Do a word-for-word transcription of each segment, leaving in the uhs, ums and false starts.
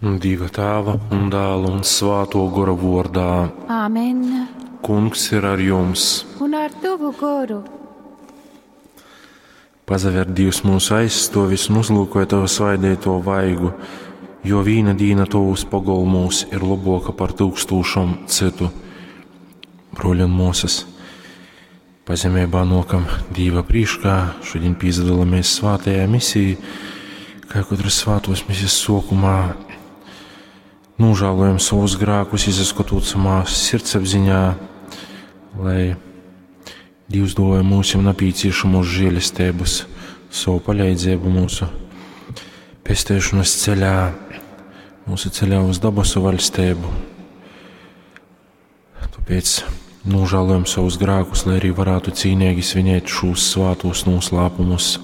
Dieva Tēva un Dēla un Svāto Gora vordā. Āmen. Kungs ir ar jums. Un ar tavu goru. Pazaver Dievs mūsu aizstovis un uzlūkoja tavu svaidēto vaigu, jo vīna dīna tovus pogolmūs ir laboka par tūkstūšom citu. Broļi un mūsas, pazemībā nokam Dīva prīškā, šodien pīzdalāmies svātajā misijā, kā katras svātos misijas sokumā nožēlojam savus grēkus, izaskatot samā sirdsapziņā, lai Dievs doja mums nepieciešamos žēlestības, savu palīdzību mūsu pestēšanas ceļā, mūsu ceļā uz dabasu valstību. Tāpēc nožēlojam savus grēkus, lai arī varētu cīnīgi svinēt šos svātos noslēpumus.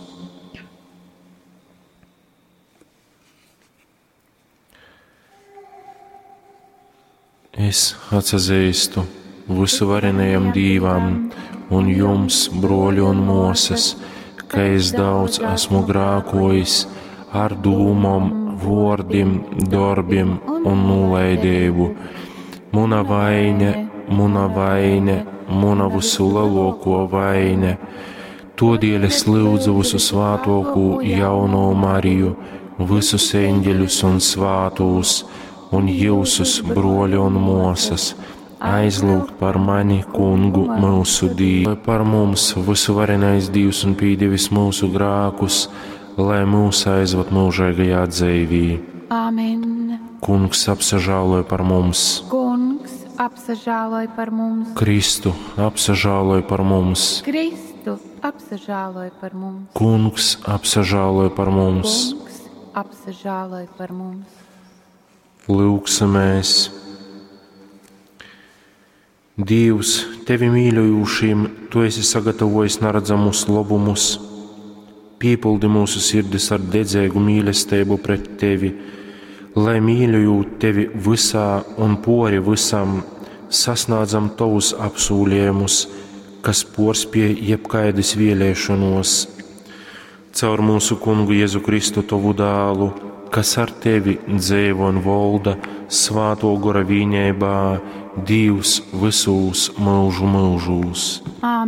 Es atsazīstu visuvarenajam Dīvam un jums, broļi un mosas, ka es daudz esmu grākojis ar dūmom, vordim, darbiem un nolaidību. Muna vaine, muna vaine, muna visu lielāko vaine. Todēļ es lūdzu visu svātokū jauno Mariju, visus eņģeļus un svātūs, un jūsus broļi un mosas, aizlūgt par mani, kungu, mūsu Dievu, par mums visuvarenais Dievs un pīdevis mūsu grākus, lai mūs aizvad mūžīgajā dzīvī. Āmen. Kungs apsažāloja par mums, Kungs apsažāloj par mums. Kristu apsažāloja par mums, Kristu apsažāloj par mums. Kungs apsažāloja par mums. Kungs apsažāloj par mums. Lūksimies! Dievs, tevi mīļojošiem, tu esi sagatavojis neredzamus labumus. Piepildi mūsu sirdis ar dedzīgu mīlestību pret tevi, lai mīļojot tevi visā un pori visam, sasniedzam tavus apsūlējumus, kas porspie jebkaidas vēlēšanos. Caur mūsu kungu Jēzu Kristu tavu dālu, kas ar tevi dzīvo un valda svāto gora vīņībā, Dievs visūs mūžu mūžūs. Āmen.